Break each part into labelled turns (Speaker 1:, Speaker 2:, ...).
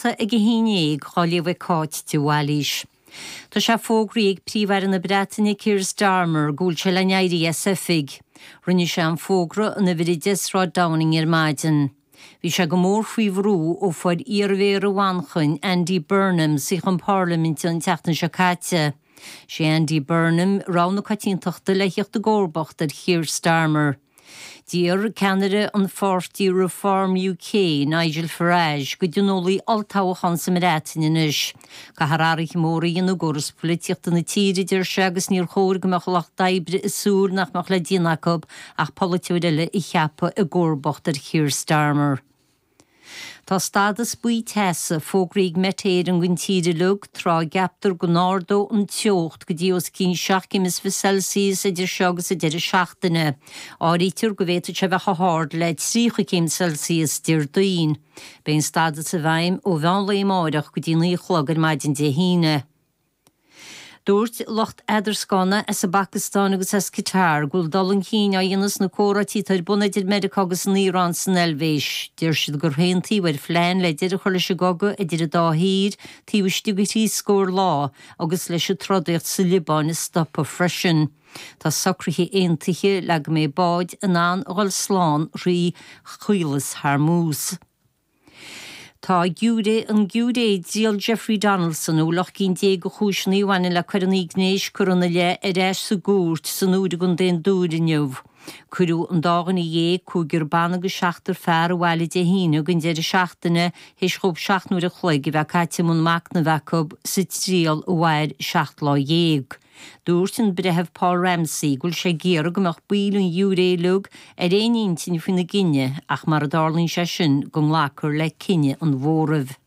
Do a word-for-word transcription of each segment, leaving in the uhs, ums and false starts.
Speaker 1: scéalta ag a haon déag á léamh ag Cáit de Bhailís. Tá sé fógraithe ag Príomh-Aire na Breataine Keir Starmer go bhfuil sé le n-éirí as oifig. Rinne sé an fógra in uimhir a deich Sráid Downing ar maidin. Bhí sé go mór faoi bhrú ó fuair iarmhéara Mhanchain Andy Burnham suíochán parlaiminte an tseachtain seo caite. Sé Andy Burnham rogha na coitiantachta le theacht i gcomharbacht ar Keir Starmer. D'iarr ceannaire an pháirtí Reform UK Nigel Farage go dtionólfaí olltoghchán sa mBreatain anois. Caithfear athruithe móra a dhéanamh i gcóras polaitíochta na tíre deir sé agus níor chóir go mbeadh lucht oibre ag súil nach mbeadh le déanamh acu ach polaiteoir eile a cheapadh i gcomharbacht ar Keir Starmer. Tá stádas buí teasa fógraithe ag Met Éireann don tír uilig tráth a gceaptar go n-ardóidh an teocht go dtí os cionn seacht gcéim is fiche Celsius idir seo agus an deireadh seachtaine. Áirítear go bhféadfadh sé bheith chomh hard le tríocha céim Celsius Déardaoin. Beidh an stádas i bhfeidhm ó mheán lae amárach go dtí naoi a chlog ar maidin Dé hAoine. Dúirt lucht eadarscána as an bPacastáin agus as Qatar go bhfuil dul chun cinn á dhéanamh sna comhráití atá ar bun idir Meiriceá agus an Iaráin san Eilvéis. Deir siad gur aontaíodh ar phlean le deireadh a chur leis an gcogadh idir an dá thír taobh istigh de thrí scór lá agus leis an trodaíocht sa Liobáin a stopadh freisin. Tá socruithe aontaithe le go mbeidh báid in ann a dhul slán thrí Chaolas Hormuz. Tá giúiré an giúiré i dtriail Jeffrey Donaldson a bhfuil ocht gcinn déag de chúiseanna a bhaineann le coireanna gnéis curtha ina leith ar ais sa gcúirt san Iúr i gContae an Dúin inniu. Cuireadh an dá dhuine dhéag, cúigear ban agus seachtar fear abhaile Dé hAoine don deireadh seachtaine théis dóibh seacht n-uair a chloig a bheith caite i mbun machnaimh acu sa triail a mhair seacht lá dhéag. Dúirt an breitheamh Paul Ramsey go bhfuil sé ag iarraidh go mbeadh baill an ghiúiré uilig ar aon intinn faoina gcinneadh ach mara dtarlaíonn sé sin go nglacfar le cinneadh an mhóraimh.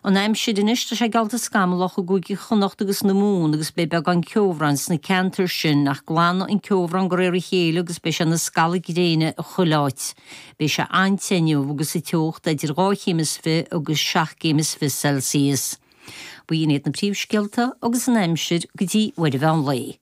Speaker 1: An aimsir anois tá sé geallta scamallach i gCúige Chonnacht agus na Mumhan agus beidh beagán ceobhráin sna ceantair sin ach glanfaidh an ceobhrán de réir a chéile agus beidh sé ina scalladh gréine i chuile áit. Beidh sé an-te inniu agus an teocht idir dhá chéim is fiche agus seacht gcéim is fiche Celsius. B'in iad na príomhscéalta agus an aimsir go dtí uair an mheán lae.